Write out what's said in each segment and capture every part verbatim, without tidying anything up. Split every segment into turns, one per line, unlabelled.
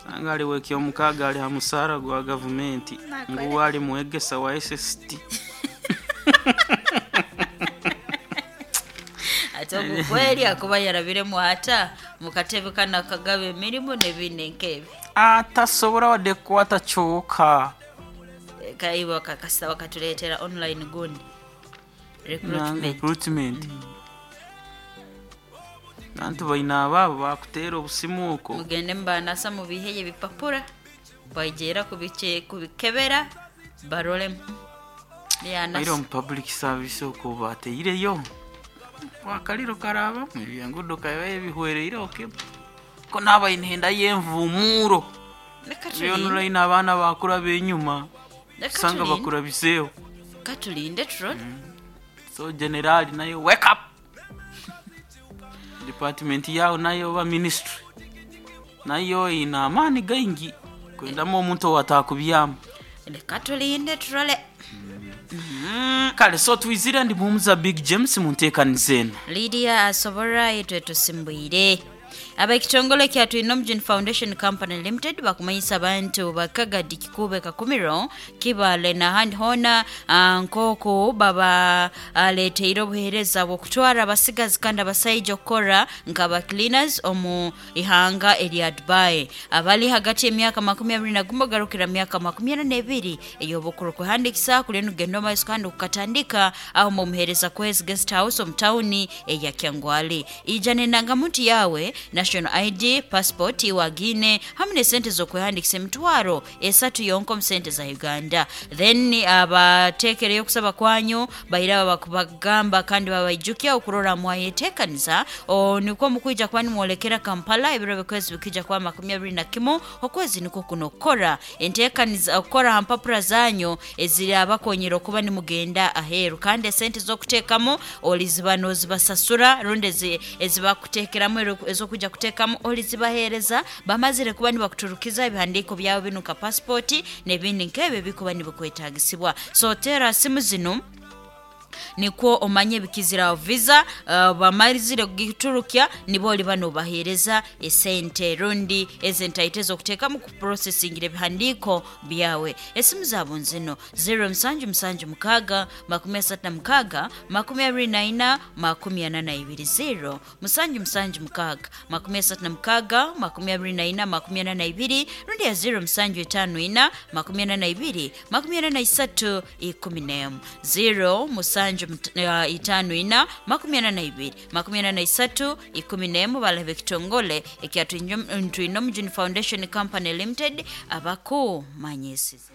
Sanga ali w'ekyomukaaga ali ha musaara gwa gavumenti.
Nakore.
Ngu ali mwegesa wa S S T.
Ate ogu kweri akuba yarabiremu ata mukatebe kano akagaba emirimu n'ebindi nk'ebi?
Atasobora wadde kukwata kyooka.
Kaiba kakasa bakatuleetera online gundi recruitment.
Recruitment. Bantu baina abaabo bakuteera obusimu okwo.
Mugende mubanasa mubiheye ebipapura baigera kubiche kubikebera barolemu.
Baire
Yanasa.
omu public service okwo bateireyo wakaliro karabamu ebyengudo kaba ebihwereireho kemu ko naaba inhenda y'envumuuro.
Leka tulinde.
Byonulaine abaana bakura benyuma
Leka
sanga
tulinde.
bakurabiseeho.
Katulinde turole.
So generali nayo, wake up! Department yawo nayo oba ministry nayo ina amaani gaingi kwendamu omuntu owatakubyamu.
Leka tulinde turole.
Kale, so twizire ndi muhumuza Big James munteekaniza eno.
Lydia asobora itwe tusimbwire. Ab'ekitongole kya Twinomujuni Foundation Company Limited bakumanyisa abantu bakagadi Kikube, Kakumiro, Kibale n'ahandi hoona ah, nk'oku baba aleteire obuheereza bw'okutwara abasigazi kandi abasaija okukora nk'aba cleaners omu ihanga erya Dubai, abali hagati y'emyaka makumi abiri na gumu garukira myaka makumi ana n'ebiri ey'obukuru. Kuhandikisa kuli nugenda omaiso kandi kukatandika aho mumuhereza Kwezi Guest House omu tawuni eya Kyangwali. Ija n'endangamuntu yawe, national I D, passport iwagine hamwe n'esente z'okwehandikisa emitwaro esatu yonka omu sente za Uganda. Then abateekereyo okusaba kwanyu baira bakubagamba kandi babaijukya okurora mwayeteekaniza. O, nikwo mukwija kuba nimwolekera Kampala ebiro bikwezi bikija kuba makumi abiri na kimu okwezi nikwo kuno okukora enteekaniza okukora ha mpapura zanyu ezirabakonyera okuba nimugenda aheeru. Kandi esente z'okuteekamu oliziba nozibasasura rundi ezi- ezibakuteekeramu ero- ez'okujya kuteekamu olizibaheereza bamazire kuba nibakuturukiza ebihandiiko byawe binu nka pasipoti n'ebindi nk'ebyo ebikuba nibikwetagisibwa. So teera simu zinu nikwo omanye ebikiziraho visa uh, bamazire kugiturukya nibo oliba nobaheereza esente rundi ezentaito ez'okuteekamu kuprocesingira ebihandiiko byawe. Esimu zaabo nzino: zero musanju musanju mukaaga makumi asatu na mukaaga makumi abiri na ina makumi ana na ibiri, zero musanju musanju mukaaga makumi asatu na mukaaga makumi abiri na ina makumi ana na ibiri, rundi ya zero musanju etaano ina makumi ana na ibiri makumi ana na isatu ikumi n'emu, zero musanju mt- uh, itaano ina makumi ana na ibiri makumi ana na isatu ikumi n'emu. Balaba ekitongole ekya Twinomujuni Foundation Company Limited abakumanyisize.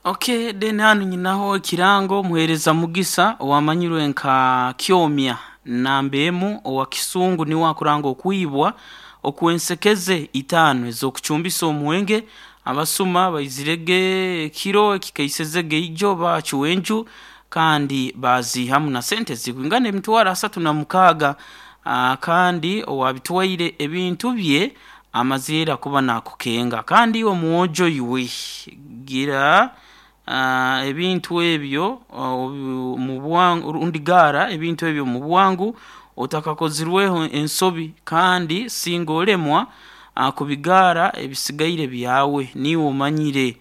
Okay, then hano nyinaho ekirango. Muhereza Mugisa owamanyirwe nka Kyomya nambemu owa Kisungu niwe akuranga okwibwa okwensekeze itaano ez'okucumbisa omuwenge. Abasuma baizirege ekiro ekikaisezege ijo bacuwa enju kandi bazihamu na sente zikwingana emitwaro asatu na mukaaga. Ah, kandi owabitwaire ebintu bye amazire kuba nakukenga. Kandi omwojo iwe gira ah, ebintu ebyo ah, mu bwangu rundi gara ebintu ebyo mu bwangu otakakozirweho ensobi. Kandi singa olemwa ah, kubigara, ebisigaire byawe niwe omanyire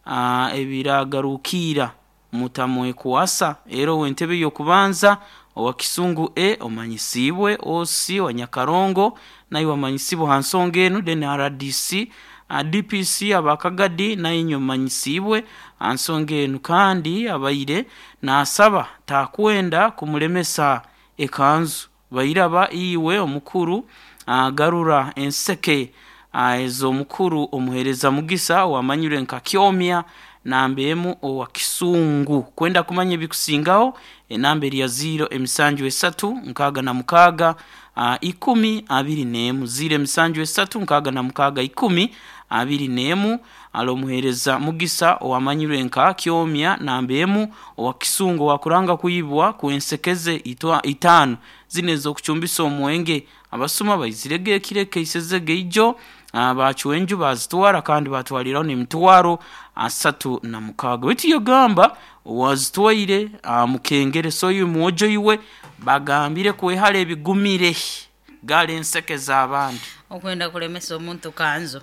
ah, ebiragarukira mutamwekwasa. Era ow'entebe y'okubanza owa Kisungu e omanyisibwe osi wa Nyakarongo naye wamanyisibwe ha nsonga enu. Then R D C, uh, D P C abakagadi naye inywe mumanyisibwe ha nsonga enu. Kandi abaire nasaba takwenda kumulemesa ekanzu bairaba iwe omukuru uh, garura enseke uh, ez'omukuru omuhereza Mugisa wamanyirwe nka Kyomya nambemu owa Kisungu. Kwenda kumanya ebikusingaho, enamba eri ya ziro emisanju esatu nkaaga na mukaaga uh, ikumi abiri n'emu, ziro emisanju esatu nkaaga na mukaaga ikumi abiri n'emu. Ali omuhereza Mugisa owamanyirwe nka Kyomya nambemu owa Kisungu wakuranga kwibwa kwensekeze itwa itaano zino ez'okucumbisa omwenge. Abasuma baizirege ekiro ekeisezege ijo ah, bacuwa enju bazitwara kandi batwaliraho n'emitwaro asatu na mukaaga. Baitu yogamba wazitwaire ah, mukengere. So oyu mwojo iwe bagambire kwehara ebigumire, gala enseke z'abandi.
Okwenda kulemesa omuntu kanzu.